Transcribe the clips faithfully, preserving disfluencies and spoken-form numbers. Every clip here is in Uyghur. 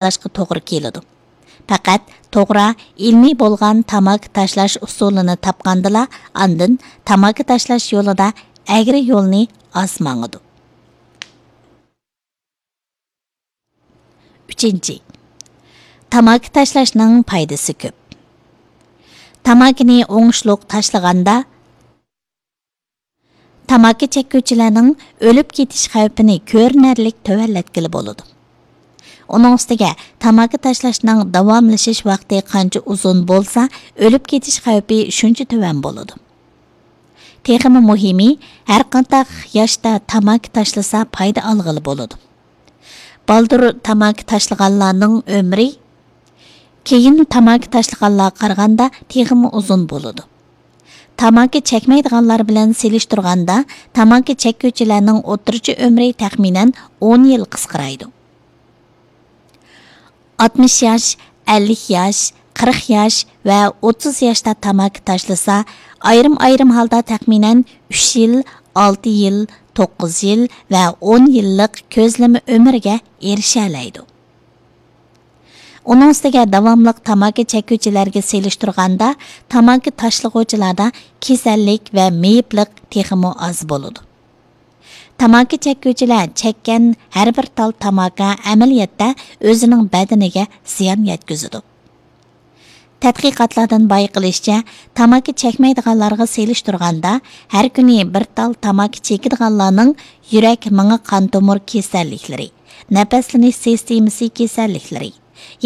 تاشلاشقا توغرا كېلىدۇ. پەقەت توغرا، ئىلمىي بولغان تاماكا تاشلاش ئۇسۇلىنى تاپقاندىلا، ئاندىن تاماكا تاشلاش يولىدا ئەگرى يولنى ئاز ماڭىدۇ. ئۈچىنچى، تاماكا تاشلاشنىڭ پايدىسى كۆپ. تاماكىنى ئوڭۇشلۇق تاشلىغاندا، تاماكا چەككۈچىلەرنىڭ ئۆلۈپ كېتىش خەۋپىنى كۆرۈنەرلىك تۆۋەنلەتكىلى بولىدۇ. ئۇنىڭ ئۈستىگە، تاماكا تاشلاشنىڭ داۋاملىشىش ۋاقتى قانچە ئۇزۇن بولسا، ئۆلۈپ كېتىش خەۋپى شۇنچە تۆۋەن بولىدۇ. تېخىمۇ مۇھىمى، ھەرقانداق ياشتا تاماكا تاشلىسا، پايدا ئالغىلى بولىدۇ. بالدۇر تاماكا تاشلىغانلارنىڭ ئۆمرى كېيىن تاماكا تاشلىغانلارغا قارىغاندا تېخىمۇ ئۇزۇن بولىدۇ. تاماكا چەكمەيدىغانلار بىلەن سېلىشتۇرغاندا، تاماكا چەككۈچىلەرنىڭ ئوتتۇرىچە ئۆمرى تەخمىنەن ئون يىل قىسقىرايدۇ. ئاتمىش ياش، ئەللىك ياش، قىرىق ياش ۋە ئوتتۇز ياشتا تاماكا تاشلىسا، ئايرىم-ئايرىم ھالدا تەخمىنەن ئۈچ يىل، ئالتە يىل، توققۇز يىل ۋە ئون يىللىق كۆزلىمە ئۆمۈرگە ئېرىشەلەيدۇ. ئۇنىڭ ئۈستىگە داۋاملىق تاماكا چەككۈچىلەرگە سېلىشتۇرغاندا، تاماكا تاشلىغۇچىلاردا كېسەللىك ۋە مېيىپلىق تېخىمۇ ئاز بولىدۇ. تاماكا چەككۈچىلەر چەككەن ھەر بىر تال تاماكا ئەمەلىيەتتە ئۆزىنىڭ بەدىنىگە زىيان يەتكۈزىدۇ. تەتقىقاتلاردىن بايقىلىشىچە، تاماكا چەكمەيدىغانلارغا سېلىشتۇرغاندا، ھەر كۈنى بىر تال تاماكا چېكىدىغانلارنىڭ يۈرەك، مېڭە، قان تومۇر كېسەللىكلىرى، نەپەسلىنىش سىستېمىسى كېسەللىكلىرى،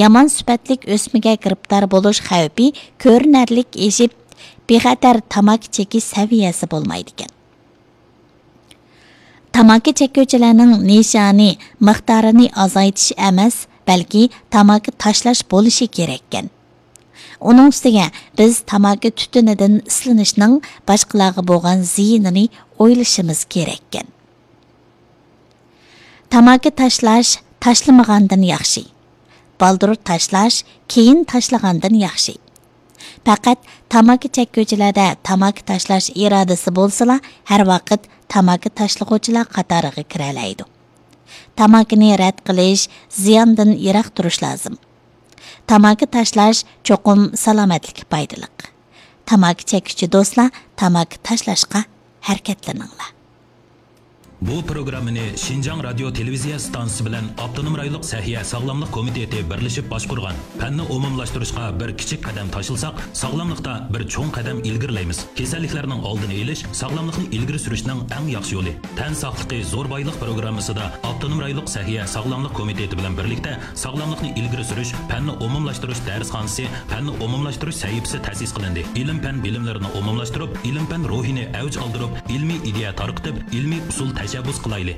يامان سۈپەتلىك ئۆسمىگە گىرىپتار بولۇش خەۋپى كۆرۈنەرلىك ئېشىپ، بىخەتەر تاماكا چېكىش سەۋىيەسى بولمايدىكەن. تاماكا چەككۈچىلەرنىڭ نىشانى مىقدارىنى ئازايتىش ئەمەس، بەلكى تاماكا تاشلاش بولۇشى كېرەككەن. ئۇنىڭ ئۈستىگە بىز تاماكا تۈتۈنىدىن ئىسلىنىشنىڭ باشقىلارغا بولغان زىيىنىنى ئويلىشىمىز كېرەككەن. تاماكا تاشلاش تاشلىمىغاندىن ياخشى. بالدۇر تاشلاش كېيىن تاشلىغاندىن ياخشى. پەقەت تاماكا چەككۈچىلەردە تاماكا تاشلاش ئىرادىسى بولسىلا، ھەر ۋاقىت تاماكا تاشلىغۇچىلار قاتارىغا كىرەلەيدۇ. تاماكىنى رەت قىلىش، زىياندىن يىراق تۇرۇش لازىم. تاماكا تاشلاش چوقۇم سالامەتلىككە پايدىلىق. تاماكا چەككۈچى دوستلار، تاماكا تاشلاشقا ھەرىكەتلىنىڭلار. بۇ پروگراممىنى شىنجاڭ رادىيو تېلېۋىزىيە ئىستانسىسى بىلەن ئاپتونوم رايونلۇق سەھىيە ساغلاملىق كومىتېتى بىرلىشىپ باشقۇرغان. پەننى ئومۇملاشتۇرۇشقا بىر كىچىك قەدەم تاشلىساق، ساغلاملىقتا بىر چوڭ قەدەم ئىلگىرىلەيمىز. كېسەللىكلەرنىڭ ئالدىنى ئېلىش ساغلاملىقنى ئىلگىرى سۈرۈشنىڭ ئەڭ ياخشى يولى. تەن ساقلىقى زور بايلىق پروگراممىسىدا ئاپتونوم رايونلۇق سەھىيە ساغلاملىق كومىتېتى بىلەن بىرلىكتە ساغلاملىقنى ئىلگىرى سۈرۈش پەننى ئومۇملاشتۇرۇش دەرسخانىسى، پەننى ئومۇملاشتۇرۇش سەھىپىسى تەسىس قىلىندى. ئىلىم-پەن بىلىملىرىنى ئومۇملاشتۇرۇپ، ئىلىم-پەن روھىنى ئەۋج ئالدۇرۇپ، ئىلمىي ئىدىيە تارقىتىپ، ئىلمىي ئۇسۇل تەشەببۇس قىلايلى.